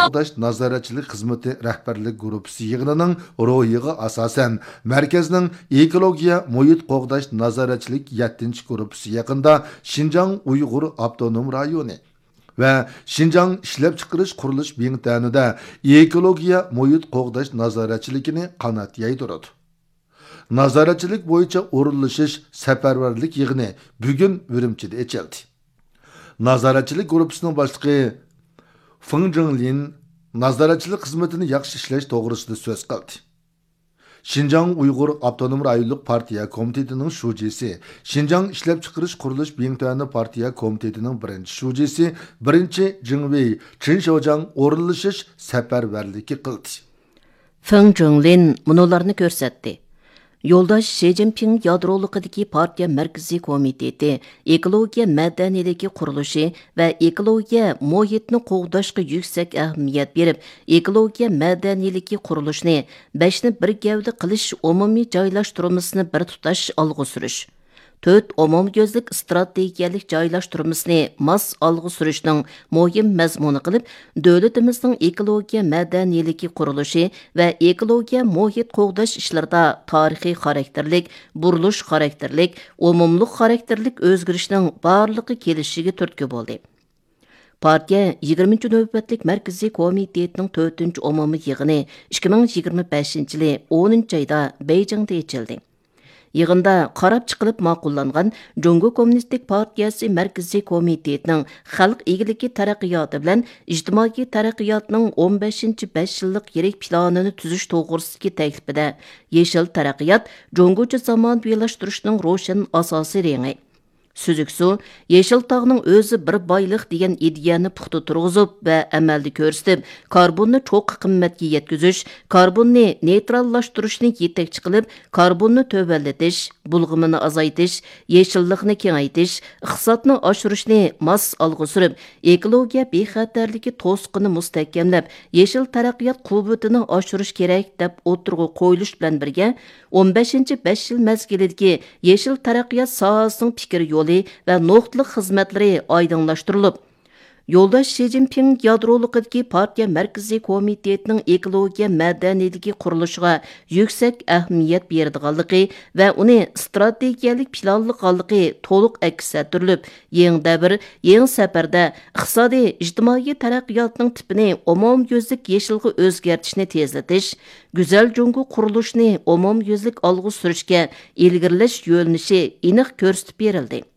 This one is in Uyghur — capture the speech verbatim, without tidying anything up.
قوغداش نازارەتچىلىك خىزمىتى رەھبەرلىك گۇرۇپپىسى يىغىنىنىڭ روھىغا ئاساسەن، مەركەزنىڭ ئېكولوگىيە مۇھىت قوغداش نازارەتچىلىك يەتتىنچى گۇرۇپپىسى يېقىندا شىنجاڭ ئۇيغۇر ئاپتونوم رايونى ۋە شىنجاڭ ئىشلەپچىقىرىش قۇرۇلۇش بىڭتۈەنىدە ئېكولوگىيە مۇھىت قوغداش نازارەتچىلىكىنى قانات يايدۇرىدۇ. نازارەتچىلىك بويىچە ئورۇنلىشىش سەپەرۋەرلىك يىغىنى بۈگۈن ئۈرۈمچىدە ئېچىلدى. نازارەتچىلىك گۇرۇپپىسىنىڭ باشلىقى فېڭ جىڭلىن نازارەتچىلىك خىزمىتىنى ياخشى ئىشلەش توغرىسىدا سۆز قىلدى. شىنجاڭ ئۇيغۇر ئاپتونوم رايونلۇق پارتىيە كومىتېتىنىڭ شۇجىسى، شىنجاڭ ئىشلەپچىقىرىش قۇرۇلۇش بىڭتۈەنى پارتىيە كومىتېتىنىڭ بىرىنچى شۇجىسى، بىرىنچى جېڭۋېي چېن شياۋجياڭ ئورۇنلىشىش سەپەرۋەرلىكى قىلدى. فېڭ جىڭلىن مۇنۇلارنى كۆرسەتتى. يولداش شى جىنپىڭ يادرولۇقىدىكى پارتىيە مەركىزىي كومىتېتى ئېكولوگىيە مەدەنىيلىكى قۇرۇلۇشى ۋە ئېكولوگىيە مۇھىتنى قوغداشقا يۈكسەك ئەھمىيەت بېرىپ، ئېكولوگىيە مەدەنىيلىكى قۇرۇلۇشىنى بەشنى بىر گەۋدە قىلىش ئومۇمىي جايلاشتۇرمىسىنى بىر تۇتاش ئالغا سۈرۈش، تۆت ئومۇميۈزلۈك ئىستراتېگىيەلىك جايلاشتۇرمىسىنى ماس ئالغا سۈرۈشنىڭ مۇھىم مەزمۇنى قىلىپ، دۆلىتىمىزنىڭ ئېكولوگىيە مەدەنىيلىكى قۇرۇلۇشى ۋە ئېكولوگىيە مۇھىت قوغداش ئىشلىرىدا تارىخىي خاراكتېرلىك، بۇرۇلۇش خاراكتېرلىك، ئومۇملۇق خاراكتېرلىك ئۆزگىرىشنىڭ بارلىققا كېلىشىگە تۈرتكە بولدى. پارتىيە يىگىرمىنچى نۆۋەتلىك مەركىزىي كومىتېتىنىڭ تۆتىنچى ئومۇمىي يىغىنى ئىككى مىڭ يىگىرمە بەشىنچى يىلى ئونىنچى ئايدا بېيجىڭدا ئېچىلدى. يىغىندا قاراپ چىقىلىپ ماقۇللانغان جۇڭگو كوممۇنىستىك پارتىيەسى مەركىزىي كومىتېتىنىڭ خەلق ئىگىلىكى تەرەققىياتى بىلەن ئىجتىمائىي تەرەققىياتنىڭ ئون بەشىنچى بەش يىللىق يىرىك پىلانىنى تۈزۈش توغرىسىدىكى تەكلىپىدە، يېشىل تەرەققىيات جۇڭگوچە زامانىۋىلاشتۇرۇشنىڭ روشەن ئاساسىي رېڭى، سۈزۈك سۇ، يېشىل تاغنىڭ ئۆزى بىر بايلىق دېگەن ئىدىيەنى پۇختا تۇرغۇزۇپ ۋە ئەمەلدە كۆرسىتىپ، كاربوننى چوققا قىممەتكە يەتكۈزۈش، كاربوننى نېيتراللاشتۇرۇشنى يېتەكچى قىلىپ، كاربوننى تۆۋەنلىتىش، بۇلغىمىنى ئازايتىش، يېشىللىقنى كېڭەيتىش، ئىقتىسادنى ئاشۇرۇشنى ماس ئالغا سۈرۈپ، ئېكولوگىيە بىخەتەرلىكى توسۇقىنى مۇستەھكەملەپ، يېشىل تەرەققىيات قۇۋۋىتىنى ئاشۇرۇش كېرەك، دەپ ئوتتۇرىغا قويۇلۇش بىلەن بىرگە، ئون بەشىنچى بەش يىل مەزگىلىدىكى يېشىل تەرەققىيات ساھەسىنىڭ پىكىر يولى ۋە نۇقتىلىق خىزمەتلىرى ئايدىڭلاشتۇرۇلۇپ، يولداش شى جىنپىڭ يادرولۇقىدىكى پارتىيە مەركىزىي كومىتېتىنىڭ ئېكولوگىيە مەدەنىيلىكى قۇرۇلۇشىغا يۈكسەك ئەھمىيەت بېرىدىغانلىقى ۋە ئۇنى ئىستراتېگىيەلىك پىلانلىغانلىقى تولۇق ئەكس ئەتتۈرۈلۈپ، يېڭى دەۋر، يېڭى سەپەردە ئىقتىسادىي، ئىجتىمائىي تەرەققىياتنىڭ تىپىنى ئومۇميۈزلۈك يېشىلغا ئۆزگەرتىشنى تېزلىتىش، گۈزەل جۇڭگو قۇرۇلۇشىنى ئومۇميۈزلۈك ئالغا سۈرۈشكە ئىلگىرىلەش يۆنىلىشى ئېنىق كۆرسىتىپ بېرىلدى.